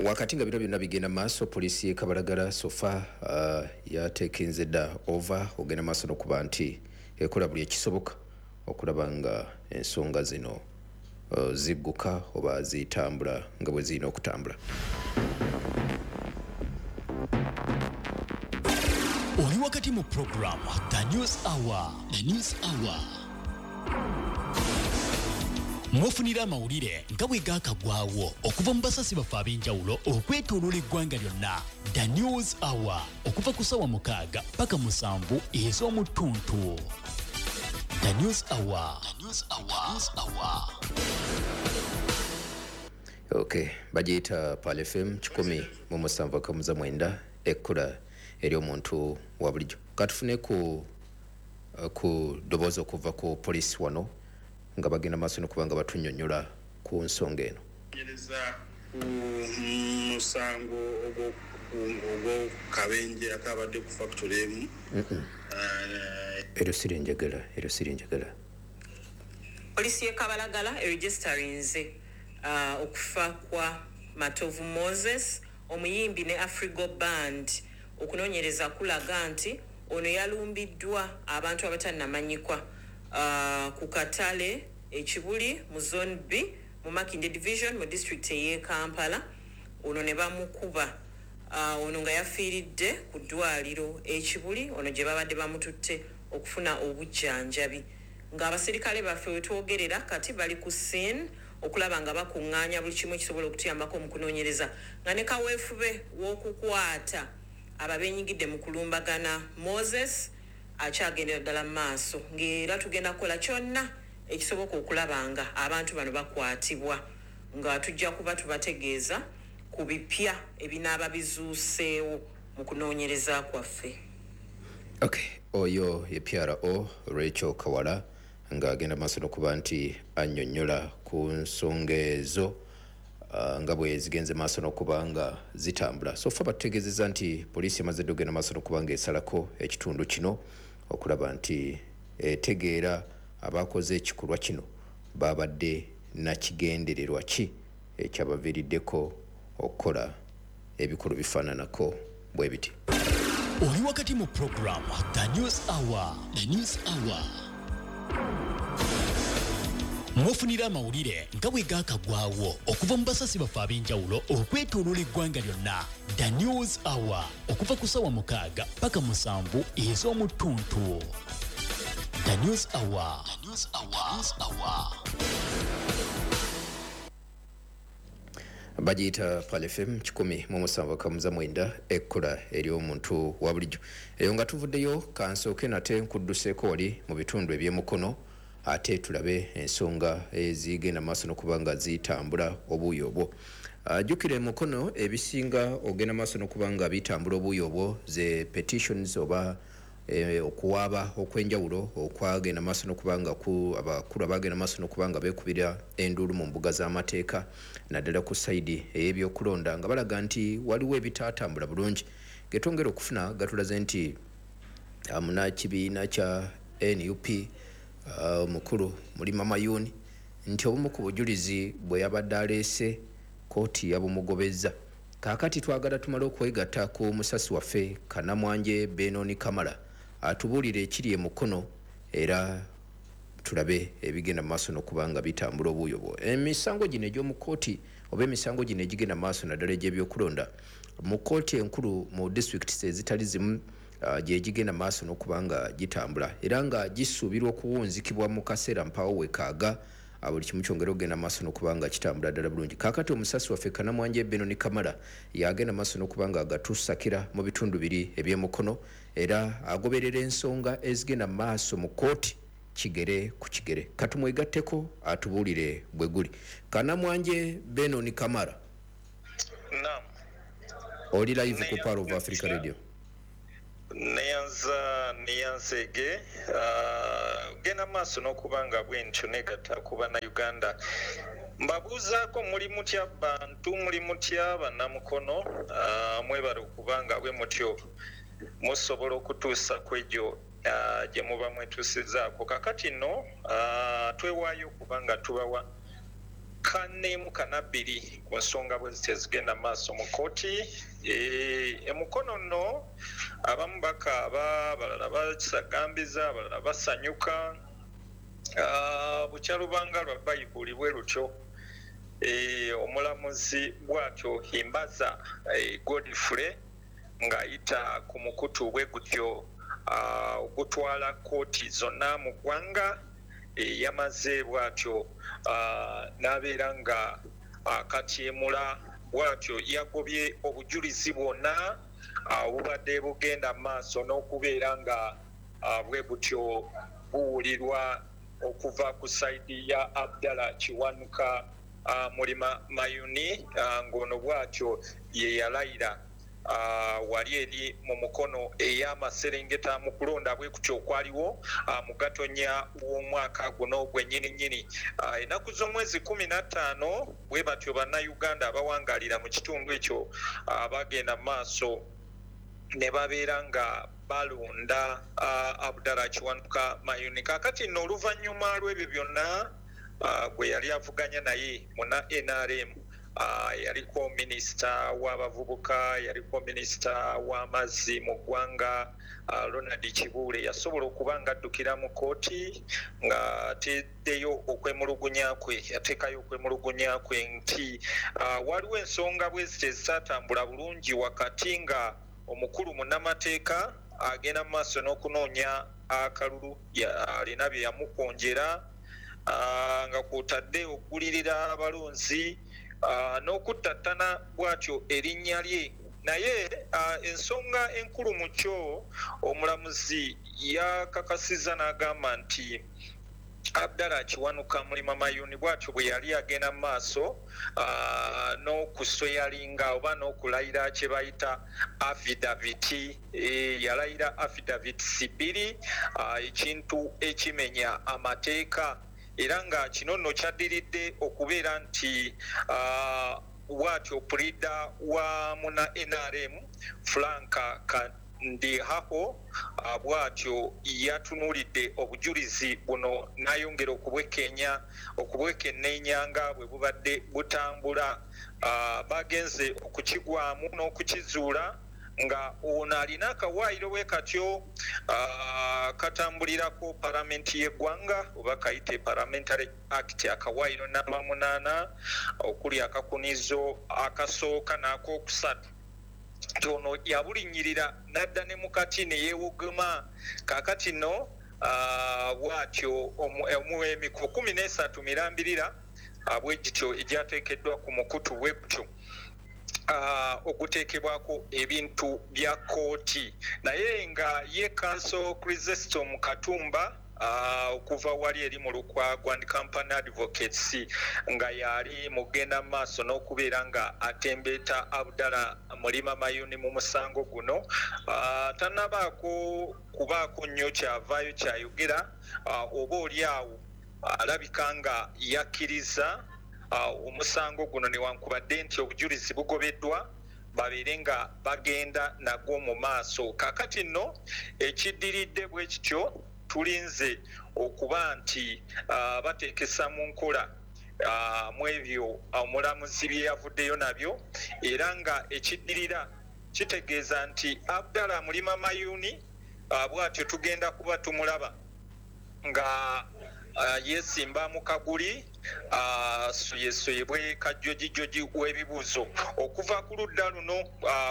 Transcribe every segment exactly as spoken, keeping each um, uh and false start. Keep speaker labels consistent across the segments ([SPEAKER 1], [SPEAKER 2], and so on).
[SPEAKER 1] Wakati nga bino byonna bigenda maaso, poliisi y'e Kabalagala so far uh, yateekenze dda over ogenda maaso n'okuba nti ekola buli ekisoboka okulaba nga ensonga zino uh, zigguka oba zitambula nga bwe zirina okutambula.
[SPEAKER 2] Oli wakati mu program The News Hour. The News Hour. Mwofunira amawulire nga bwe gaakagwawo okuva mu basasi baffe ab'enjawulo okwetooloola eggwanga lyonna. The News Hour okuva ku ssaawa mukaaga paka musanvu ez'omu ttuntu. The News Hour. The News Hour. The News Hour.
[SPEAKER 1] Okay, bagiyita Pearl F M kikumi mu musanvu akamuza mwenda, ekkula eri omuntu wa bulijjo. Katufune ku ku ddoboozi okuva ku poliisi wano nga bagenda maaso n'okuba nga batunnyonnyola ku nsonga eno.
[SPEAKER 3] Nyereza ku musango ogw'akabenje akabadde ku factory emu.
[SPEAKER 1] Eryo siri njagala, eryo siri njagala.
[SPEAKER 4] Poliisi y'e Kabalagala eregisitarinze uh, okufa kwa Matovu Moses, omuyimbi ne Afrigo Band. Okunoonyereza kulaga nti ono yalumbiddwa abantu abatannamanyikwa uh, ku katale ekibuli mu Zone B mu Makindye Division mu district ey'e Kampala. Ono ne bamukuba uh, ono nga yafiiridde ku ddwaliro ekibuli ono gye babadde bamututte okufuna obujjanjabi. Ng'abaserikale baffe we twogerera kati bali ku scene okulaba nga bakuŋŋaanya buli kimu ekisobola okutuyambako mu kunoonyereza, nga ne kaweefube w'okukwata ababenyigidde mu kulumbagana Moses akyagendera ddala mu maaso, ng'era tugenda kukola kyonna ekisoboka okulaba nga abantu bano bakwatibwa, nga tujja kuba tubategeeza ku bipya ebinaaba bizuuseewo mu kunoonyereza kwaffe.
[SPEAKER 1] Okay, oyo ye P R O Rachel Kawala ng'agenda maaso n'okuba nti annyonnyola ku nsonga ezo uh, nga bwe zigenze maaso n'okuba nga zitambula. So far batutegeezezza nti poliisi emaze dda okugenda maaso n'okuba nga esalako ekitundu kino okulaba nti etegeera abakoze ekikolwa kino babadde nakigendererwa ki ekyabaviiriddeko okukola ebikolwa bifaananako bwe biti.
[SPEAKER 2] Oli wakati mu program The News Hour. The News Hour. Mwofunira amawulire nga bwe gaakagwawo okuva mu basasi baffe ab'enjawulo okwetooloola eggwanga lyonna. The News Hour okuva ku ssaawa mukaaga paka musanvu ez'omu ttuntu. The News Hour. The News Hour. The News Hour.
[SPEAKER 1] Bagiyita Pearl F M kikumi mu musanvu akamuza mwenda, ekkula eri omuntu wa bulijjo. Eyo nga tuvuddeyo, kansooke nate nkudduseeko wali mu bitundu eby'emukono ate tulabe ensonga ezigenda maaso n'okuba nga zitambula obuuyi obwo. Jjukira emukono ebisinga ogenda maaso n'okuba nga bitambula obuuyi obwo ze petitions oba e, okuwaaba okw'enjawulo okwagenda maaso n'okuba nga ku abakulu abagenda maaso n'okuba nga beekubira enduulu mu mbuga z'amateeka naddala ku sayidi ey'ebyokulonda nga balaga nti waliwo ebitaatambula bulungi. Getwongera okufuna gatulaze nti munnakibiina kya N U P omukulu uh, Mulima Mayuni nti obumu ku bujulizi bwe yabadde aleese kkooti yabumugobezza. Kaakati twagala tumale okwegatta ku musasi waffe Kanamwanje Benoni Kamala atubuulire ekiri e Mukono era tulabe ebigenda mu maaso n'okuba nga bitambula obuuyo bwo. Emisango gino egy'omu kkooti oba emisango gino egigenda mu maaso naddala egy'ebyokulonda mu kkooti enkulu mu disitulikiti ezitali zimu uh, gye gigenda mu maaso n'okuba nga gitambula era nga gisuubirwa okuwunzikibwa mu kaseera mpaawo wekaaga buli kimu kyongera okugenda maaso n'okuba nga kitambula ddala bulungi. Kaakati omusasi waffe Kanamwanje Benoni Kamala yagenda maaso n'okuba nga agatusakira mu bitundu biri eby'emukono era agoberera ensonga ezigenda maaso mu kkooti kigere ku kigere. Katumwegatteko atubuulire bwe guli. Kanamwanje Benoni Kamala.
[SPEAKER 5] Naam.
[SPEAKER 1] Oli live ku Power of Africa Radio.
[SPEAKER 5] Neyanza neyanzege uh, genda maaso n'okuba nga bwentyo negatta ku bannayuganda. Mbabuuzaako muli mutya bantu, muli mutya bannamukono, uh, mwebale okuba nga bwe mutyo musobola okutuusa ku egyo uh, gye muba mwetuusizaako. Kakati nno uh, twewaayo okuba nga tubawa Kanemu kanabbiri ku nsonga bwe zityo ezigenda maaso mu kkooti. E Mukono nno abamu bakaaba, abalala basagambiza, abalala basanyuka. Bukyalubanga lwa Bayibuli bwe lutyo. Omulamuzi bw'atyo Himbaza Godfrey ng'ayita ku mukutu bwe gutyo ogutwala kkooti zonna mu ggwanga, yamaze bw'atyo n'abeera nga akatyemula bw'atyo yagobye obujulizi bwonna obubadde bugenda maaso n'okubeera nga bwe butyo buwulirwa okuva ku sayidi ya Abdallah Kiwanuka Mulima Mayuni, ng'ono bw'atyo ye yalayira wali eri mu Mukono ey'amaserengeta mu kulonda bwe kutyo okwaliwo mu Gatonya w'omwaka guno gwennyini nnyini. Ennaku z'omwezi kkumi na ttaano bwe batyo Bannayuganda abawangaalira mu kitundu ekyo bagenda maaso ne babeera nga balonda Abdallah Kiwanuka Mayuni. Kaakati nno oluvannyuma lw'ebyo byonna gwe yali avuganya naye muna N R M, yaliko minisita w'abavubuka, yaliko minisita w'amazzi mu ggwanga Ronald Kibuule, yasobola okuba nga addukira mu kkooti ng'ateddeyo okwemulugunya kwe, yateekayo okwemulugunya kwe nti waliwo ensonga bwe zityo ezitaatambula bulungi wakati nga omukulu munnamateeka agenda mu maaso n'okunoonya akalulu, alina bye yamukonjera nga kw'otadde okugulirira abalonzi n'okuttattana bw'atyo erinnya lye. Naye ensonga enkulu mu kyo omulamuzi yakakasizza n'agamba nti Abdallah Kiwanuka Mulima Mayuni bw'atyo bwe yali agenda mu maaso n'okusweyalinga oba n'okulayira kye bayita affidavit, yalayira affidavit bbiri, ekintu ekimenya amateeka, era nga kino nno kyaddiridde okubeera nti bw'atyo pulida wa muna N R M Frank Kandihaho bw'atyo yatunuulidde obujulizi buno n'ayongera okubwekenya okubwekenneenya nga bwe bubadde butambula. Bagenze okukigwamu n'okukizuula nga ono alina akawaayiro bwe katyo katambulirako palamenti y'eggwanga oba kayite Parliamentary Act akawaayiro namba munaana okuli akakunizo akasooka n'akokusatu. Ono yabulinnyirira n'adda ne mukati ne yeewogoma. Kaakati nno bw'atyo emiko kkumi n'esatu mirambirira bwe gityo egyateekeddwa ku mukutu bwe gutyo oguteekebwako ebintu bya kkooti. Naye nga ye Counsel Chrysostom Katumba okuva wali eri mu Lukwago and Company Advocates nga yali mugenda maaso n'okubeera nga atembeeta Abdallah Mulima Mayuni mu musango guno, tannabaako kubaako nnyo kyavaayo kyayogera, oba oli awo alabika nga yakkiriza omusango guno newankubadde nti obujulizi bugobeddwa babeere nga bagenda nagwo mu maaso. Kaakati nno ekiddiridde bwe kityo tulinze okuba nti bateekesa mu nkola mu ebyo omulamuzi bye yavuddeyo nabyo, era nga ekiddirira kitegeeza nti Abdallah Mulima Mayuni bw'atyo tugenda kuba tumulaba nga yeesimba mu kaguli soyesoyebwe kajjojijoji w'ebibuuzo okuva ku ludda luno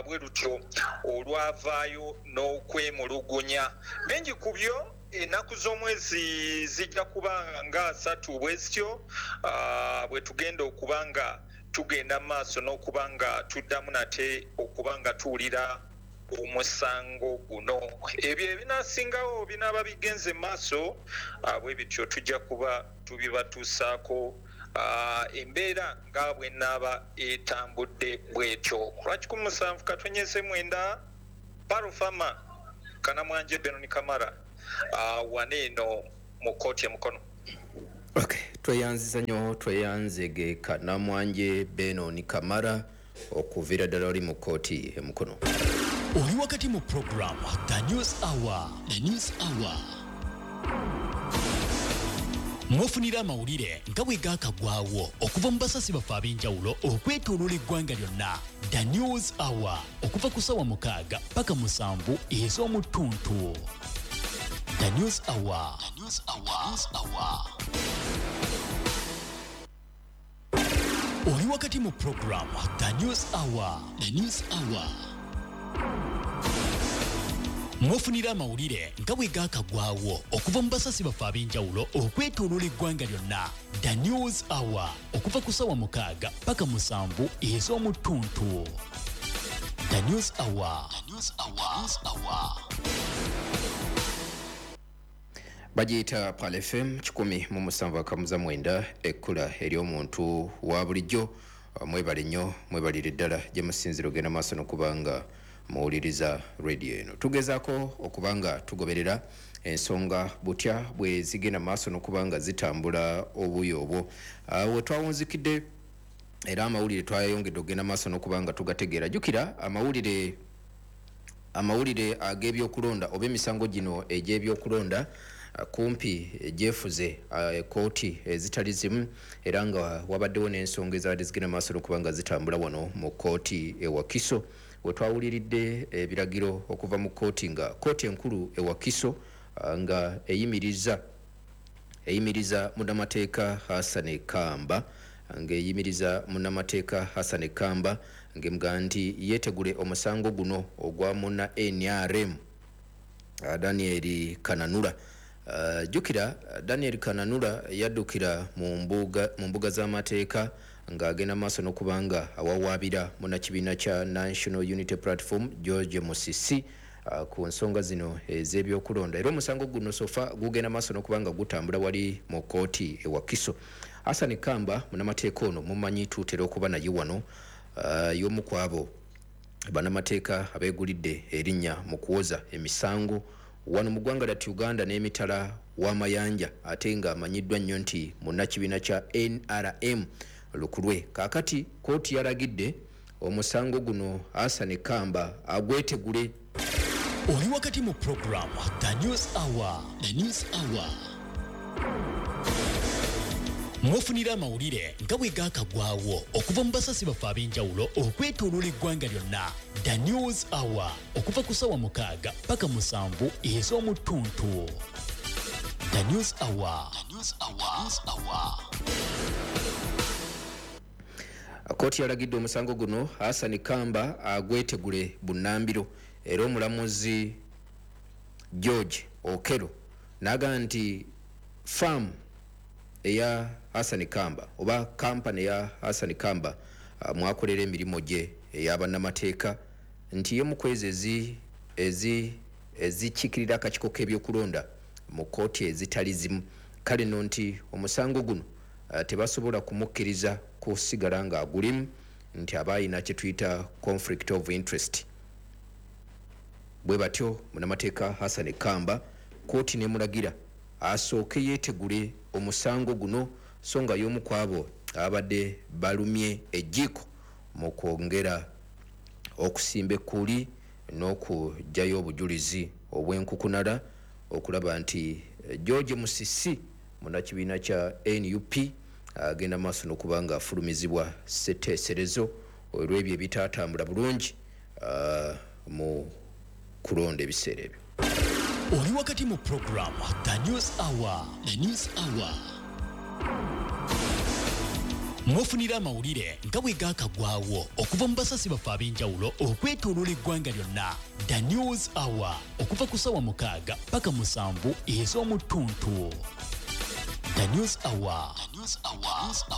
[SPEAKER 5] bwe lutyo olwavaayo n'okwemulugunya. Bingi ku byo ennaku z'omwezi zijja kuba nga asatu bwe zityo bwe tugenda okuba nga tugenda mu maaso n'okuba nga tuddamu nate okuba nga tuwulira omusango guno. Ebyo ebinaasingawo binaaba bigenze maaso bwe bityo tujja kuba tubibatuusaako embeera nga bwe naaba etambudde bwetyo. Lwa kikumi musanvu katonyeze mwenda Parufama Kanamwanje Benoni Kamara wano eno mu kkooti e Mukono.
[SPEAKER 1] Okay, tweyanziza nnyo, tweyanzege Kanamwanje Benoni Kamara okuviira ddala oli mu kkooti e Mukono.
[SPEAKER 2] Oli wakati mu program The News Hour. The News Hour. Mufunira amawulire nga bwe gaakagwawo okuva mu basasi baffe ab'enjawulo okwetooloola eggwanga lyonna. The News Hour okuva ku ssaawa mukaaga paka musanvu ez'omu ttuntu. The News Hour. The News Hour. The News Hour. Oli wakati mu program The News Hour. The News Hour. Mufunira amawulire nga bwe gaakagwawo okuva mu basasi baffe ab'enjawulo okwetooloola eggwanga lyonna. The News Hour okuva ku ssaawa mukaaga paka musanvu ez'omu ttuntu. The News Hour. The News Hour. The News Hour.
[SPEAKER 1] Bagiyita Pal F M kikumi mu musanvu akamuza mwenda, ekkula ery'omuntu wa bulijjo. Mwebale nnyo, mwebalire ddala gye musinzira ogenda maaso n'okubanga muwuliriza radio eno. Tugezaako okubanga tugoberera ensonga butya bwe zigenda maaso n'okubanga zitambula obuyo obwo. We twawunzikidde era amawulire twayongedde okugenda maaso n'okubanga tugategeera. Jjukira amawulire amawulire ag'ebyokulonda oba emisango gino egy'ebyokulonda kumpi gyefuze kkooti ezitali zimu, era nga wabaddewo n'ensonga ezabadde zigenda maaso n'okubanga zitambula wano mu kkooti e Wakiso. We twawuliridde ebiragiro okuva mu kkooti nga kkooti enkulu e Wakiso nga eyimiriza eyimiriza munnamateeka Hassan Kamba ng'eyimiriza munnamateeka Hassan Kamba ng'emugamba nti yeetegule omusango guno ogwa munna N R M Daniel Kananura. Uh, jjukira Daniel Kananura yaddukira mu mbuga mu mbuga z'amateeka ng'agenda maaso n'okubanga awawaabira munnakibiina kya National Unity Platform George Musisi uh, ku nsonga zino ez'ebyokulonda. Era omusango guno sofa gugenda maaso n'okubanga gutambula wali mu kkooti e Wakiso. Hassan Kamba munnamateeka ono mumanyi tuutera okuba naye wano, uh, y'omu ku abo bannamateeka abeegulidde erinnya mu kuwoza emisango wano mu ggwanga lya Uganda n'emitala w'amayanja, ate nga amanyiddwa nnyo nti munnakibiina kya N R M lukulwe. Kaakati kkooti yalagidde omusango guno Hassan Kamba agwetegule.
[SPEAKER 2] Oli wakati mu program The News Hour. The News Hour. Mufunira amawulire nga bwe gaakagwawo okuva mu basasi baffe ab'enjawulo okwetooloola eggwanga lyonna. The News Hour okuva ku ssaawa mukaaga paka musanvu ez'omu ttuntu. The News Hour. The News Hour. The News Hour.
[SPEAKER 1] Kkooti yalagidde omusango guno Hassan Kamba agwetegule bunnambiro, era omulamuzi George Okello n'agamba nti faamu eya Hassan Kamba oba kampani eya Hassan Kamba uh, mwakolera emirimu gye ey'abannamateeka nti ye mu kwezi ezi ezi ezikiikirira akakiiko k'ebyokulonda mu kkooti ezitali zimu. Kale nno nti omusango guno uh, tebasobola kumukkiriza kusigala ng'agulimu, nti aba ayina kye tuyita conflict of interest. Bwe batyo munnamateeka Hassan Kamba kkooti n'emulagira asooke yeetegule omusango guno, so nga y'omu ku abo abadde balumye ejjiiko mu kwongera okusimba ekkuuli n'okuggyayo obujulizi obw'enkukunala okulaba nti George Musisi munnakibiina kya N U P agenda maaso n'okuba nga afulumizibwa ssetteeserezo olw'ebyo ebitaatambula bulungi uh, mu kulonda ebiseera ebyo.
[SPEAKER 2] Oli wakati mu program The News Hour. The News Hour. Mufunira amawulire nga bwe gaakagwawo okuva mu basasi baffe ab'enjawulo okwetooloola eggwanga lyonna. The News Hour okuva ku ssaawa mukaaga paka musanvu ez'omu ttuntu. The News Hour. The News Hour. The News Hour.